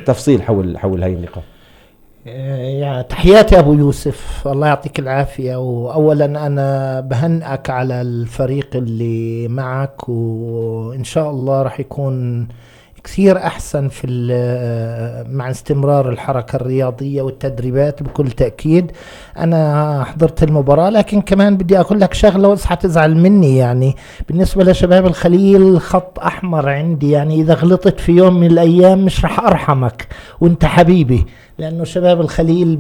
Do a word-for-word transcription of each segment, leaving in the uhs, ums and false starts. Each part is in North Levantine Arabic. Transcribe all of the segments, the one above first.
تفصيل حول حول هاي النقاط. يعني تحياتي أبو يوسف، الله يعطيك العافية. وأولا أنا بهنئك على الفريق اللي معك، وإن شاء الله رح يكون كثير أحسن في مع استمرار الحركة الرياضية والتدريبات بكل تأكيد. أنا حضرت المباراة، لكن كمان بدي أقول لك شغلة وإصحى تزعل مني. يعني بالنسبة لشباب الخليل خط أحمر عندي، يعني إذا غلطت في يوم من الأيام مش رح أرحمك وإنت حبيبي، لأنه شباب الخليل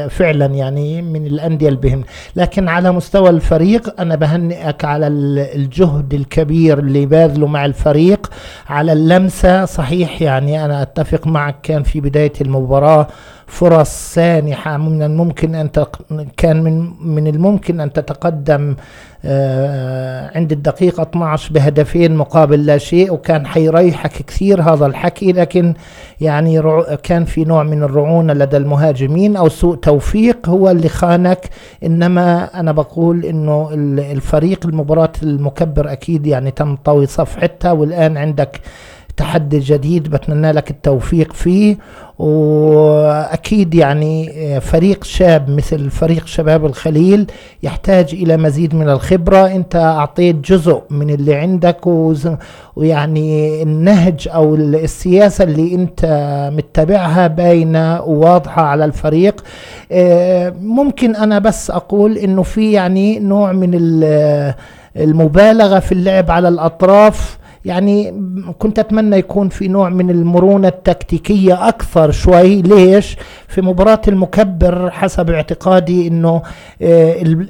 فعلا يعني من الأندية البهم. لكن على مستوى الفريق أنا بهنئك على الجهد الكبير اللي باذله مع الفريق، على اللمسة. صحيح يعني أنا أتفق معك، كان في بداية المباراة فرص سانحة، من الممكن أن كان من من الممكن أن تتقدم عند الدقيقة اثني عشر بهدفين مقابل لا شيء، وكان حيريحك كثير هذا الحكي. لكن يعني كان في نوع من الرعونة لدى المهاجمين أو سوء توفيق هو اللي خانك. إنما أنا بقول إنه الفريق المباراة المكبر أكيد يعني تم طوي صفحتها، والآن عندك تحدي جديد بتمنى لك التوفيق فيه. وأكيد يعني فريق شاب مثل فريق شباب الخليل يحتاج إلى مزيد من الخبرة. أنت أعطيت جزء من اللي عندك، ويعني النهج أو السياسة اللي أنت متبعها باينة وواضحة على الفريق. ممكن أنا بس أقول إنه في يعني نوع من المبالغة في اللعب على الأطراف. يعني كنت أتمنى يكون في نوع من المرونة التكتيكية أكثر شوي. ليش؟ في مباراة المكبر حسب اعتقادي إنه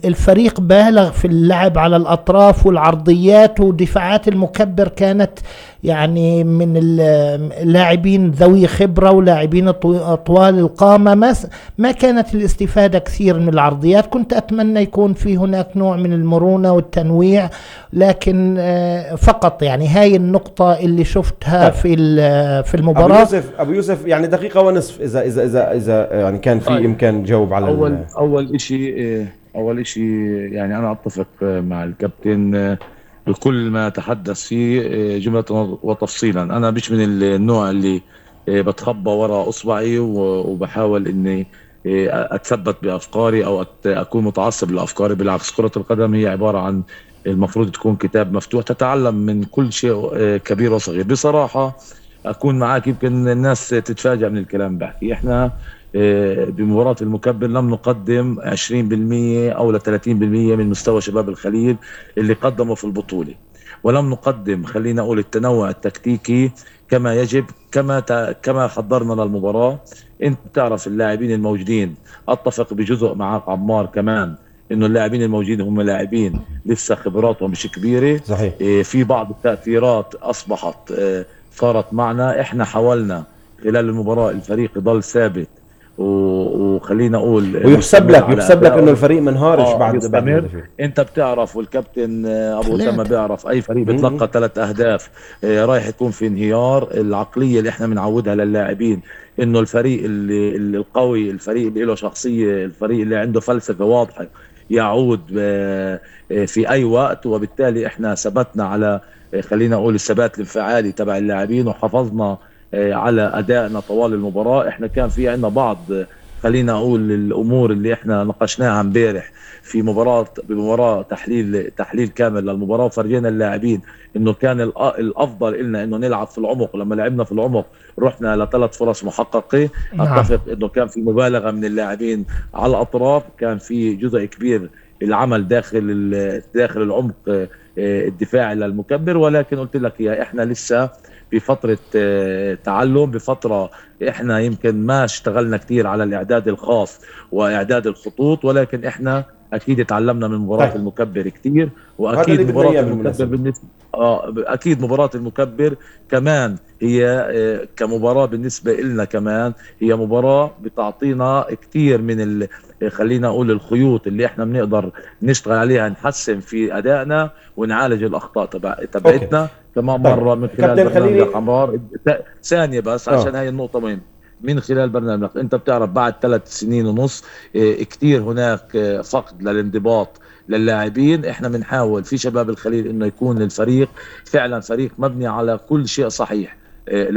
الفريق بالغ في اللعب على الأطراف والعرضيات، ودفاعات المكبر كانت يعني من اللاعبين ذوي خبرة ولاعبين طوال القامة، ما ما كانت الاستفادة كثير من العرضيات. كنت أتمنى يكون في هناك نوع من المرونة والتنويع، لكن فقط يعني هاي النقطة اللي شفتها في في المباراة. أبو يوسف أبو يوسف يعني دقيقة ونصف إذا إذا إذا إذا يعني كان في طيب. إمكان جاوب على أول أول إشي أول إشي يعني أنا أتفق مع الكابتن بكل ما تحدث فيه جملة وتفصيلا. أنا مش من النوع اللي بتخبى وراء أصبعي وبحاول إني أتثبت بأفكاري أو أكون متعصب لأفكاري. بالعكس، كرة القدم هي عبارة عن المفروض تكون كتاب مفتوح تتعلم من كل شيء كبير وصغير. بصراحة أكون معاك، يمكن الناس تتفاجأ من الكلام بحكي. إحنا بمباراة المكبر لم نقدم عشرين بالمية أو لثلاثين بالمية من مستوى شباب الخليل اللي قدموا في البطولة، ولم نقدم خلينا أقول التنوع التكتيكي كما يجب، كما كما حضرنا للمباراة. أنت بتعرف اللاعبين الموجودين، أتفق بجزء معك عمار كمان إنه اللاعبين الموجودين هم لاعبين لسه خبراتهم مش كبيرة. صحيح. في بعض التأثيرات أصبحت صارت معنا. إحنا حاولنا خلال المباراة الفريق يضل ثابت، وخلينا اقول ويحسب لك يحسب لك انه الفريق منهارش آه بعد بعد انت بتعرف، والكابتن ابو اسامه بيعرف، اي فريق بتلقى ثلاث اهداف آه رايح يكون في انهيار. العقليه اللي احنا بنعودها للاعبين انه الفريق اللي, اللي القوي، الفريق اللي له شخصيه، الفريق اللي عنده فلسفه واضحه يعود آه في اي وقت. وبالتالي احنا ثبتنا على آه خلينا اقول الثبات الانفعالي تبع اللاعبين، وحافظنا على أدائنا طوال المباراة. احنا كان في عندنا بعض خلينا أقول الأمور اللي احنا ناقشناها امبارح في مباراة بمباراة تحليل تحليل كامل للمباراة، وفرجينا اللاعبين انه كان الافضل لنا انه نلعب في العمق. لما لعبنا في العمق رحنا لثلاث فرص محققة. اتفق انه كان في مبالغة من اللاعبين على الأطراف، كان في جزء كبير العمل داخل داخل العمق الدفاعي للمكبر. ولكن قلت لك يا احنا لسه بفترة تعلم، بفترة احنا يمكن ما اشتغلنا كتير على الاعداد الخاص واعداد الخطوط، ولكن احنا اكيد تعلمنا من مباراة طيب. المكبر كتير. واكيد مباراة المكبر بالنسبة اه اكيد مباراة المكبر كمان هي كمباراة بالنسبة لنا كمان هي مباراة بتعطينا كتير من ال... خلينا اقول الخيوط اللي احنا بنقدر نشتغل عليها، نحسن في ادائنا ونعالج الاخطاء تبع تبعتنا كمان مرة من خلال برنامج عمار. ثانية بس أوه. عشان هاي النقطة مهمة. من خلال برنامج انت بتعرف بعد ثلاث سنين ونص اه كتير هناك اه فقد للانضباط للاعبين. احنا بنحاول في شباب الخليل انه يكون الفريق فعلا فريق مبني على كل شيء صحيح. اه